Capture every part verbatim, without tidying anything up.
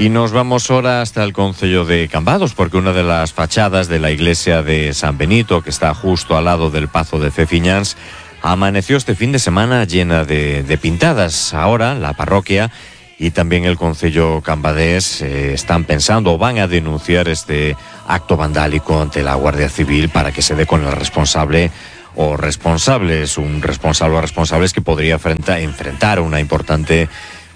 Y nos vamos ahora hasta el concello de Cambados, porque una de las fachadas de la iglesia de San Benito, que está justo al lado del Pazo de Ceciñans, amaneció este fin de semana llena de, de pintadas. Ahora la parroquia y también el concello cambadés eh, están pensando o van a denunciar este acto vandálico ante la Guardia Civil para que se dé con el responsable o responsables, un responsable o responsables que podría enfrentar, enfrentar una importante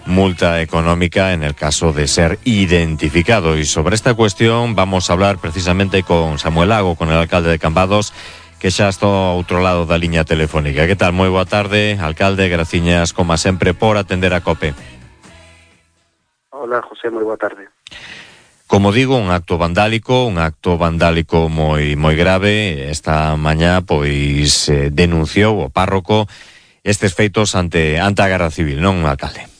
multa económica en el caso de ser identificado. Y sobre esta cuestión vamos a hablar precisamente con Samuel Lago, con el alcalde de Cambados, que xa está ao outro lado da liña telefónica. Que tal? Moi boa tarde, alcalde, graciñas como sempre por atender a COPE. Hola, José, moi boa tarde. Como digo, un acto vandálico, un acto vandálico moi moi grave. Esta mañá pois eh, denunciou o párroco estes feitos ante ante a Garda Civil, non, alcalde?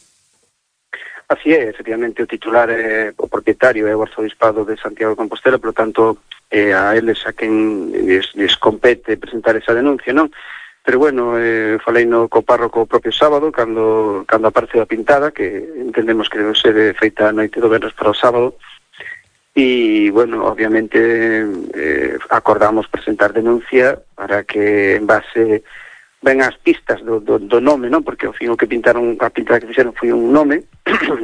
Así é, efectivamente, o titular é o propietario é o arzobispado de Santiago de Compostela, por lo tanto, eh, a eles a quen les, les compete presentar esa denuncia, non? Pero bueno, eh, falei no co párroco o propio sábado, cando cando aparece a pintada, que entendemos que debe ser feita a noite do venres para o sábado, e, bueno, obviamente, eh, acordamos presentar denuncia para que, en base ben as pistas do, do, do nome, non? Porque ao fin o que pintaron, a pintada que fixeron foi un nome,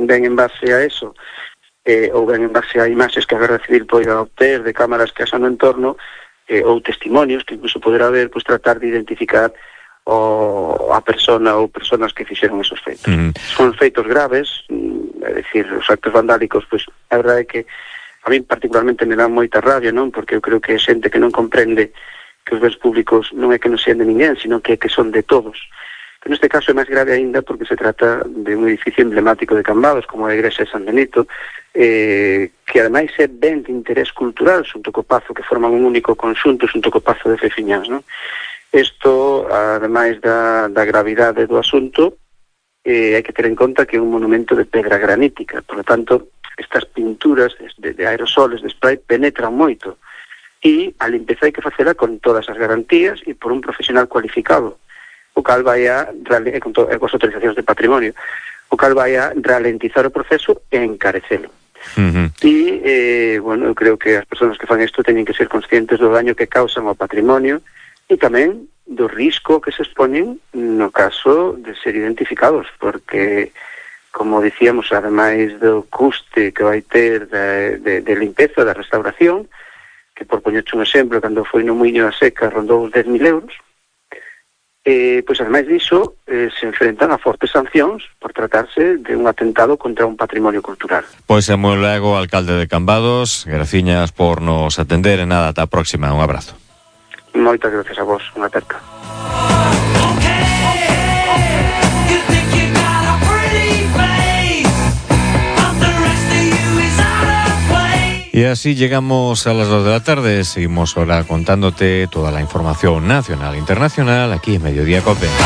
ben en base a eso, eh, ou ben en base a imaxes que a Guardia Civil poida obter de cámaras que asan no entorno, eh, ou testimonios que incluso poderá haber, pois tratar de identificar o, a persona ou personas que fixeron esos feitos. Mm. Son feitos graves, é dicir, os actos vandálicos, pois a verdade é que a mí particularmente me dá moita rabia, non? Porque eu creo que é xente que non comprende que os bens públicos non é que non sean de ninguén, sino que, que son de todos. Pero neste caso é máis grave aínda porque se trata de un edificio emblemático de Cambados, como a igrexa de San Benito, eh, que ademais é ben de interés cultural, xunto co Pazo, que forman un único conxunto, xunto co Pazo de Ceciñans, non? Isto, ademais da, da gravidade do asunto, eh, hai que ter en conta que é un monumento de pedra granítica, por lo tanto, estas pinturas de, de aerosoles, de spray, penetran moito. E a limpeza hai que facela con todas as garantías e por un profesional cualificado, o cal vai a, e con, to, e con as autorizacións de patrimonio, o cal vai a ralentizar o proceso e encarecelo. Uh-huh. E, eh, bueno, eu creo que as persoas que fan isto teñen que ser conscientes do daño que causan ao patrimonio e tamén do risco que se expoñen no caso de ser identificados, porque, como dicíamos, ademais do custe que vai ter de, de, de limpeza, da restauración, que por poñerche un exemplo, cando foi no Muiño da Seca rondou os dez mil euros, eh, pois ademais diso eh, se enfrentan a fortes sancións por tratarse de un atentado contra un patrimonio cultural. Pois Samuel Lago, alcalde de Cambados, graciñas por nos atender e nada, ata a próxima, un abrazo. Moitas gracias a vos, unha aperta. Y así llegamos a las dos de la tarde. Seguimos ahora contándote toda la información nacional e internacional aquí en Mediodía COPE.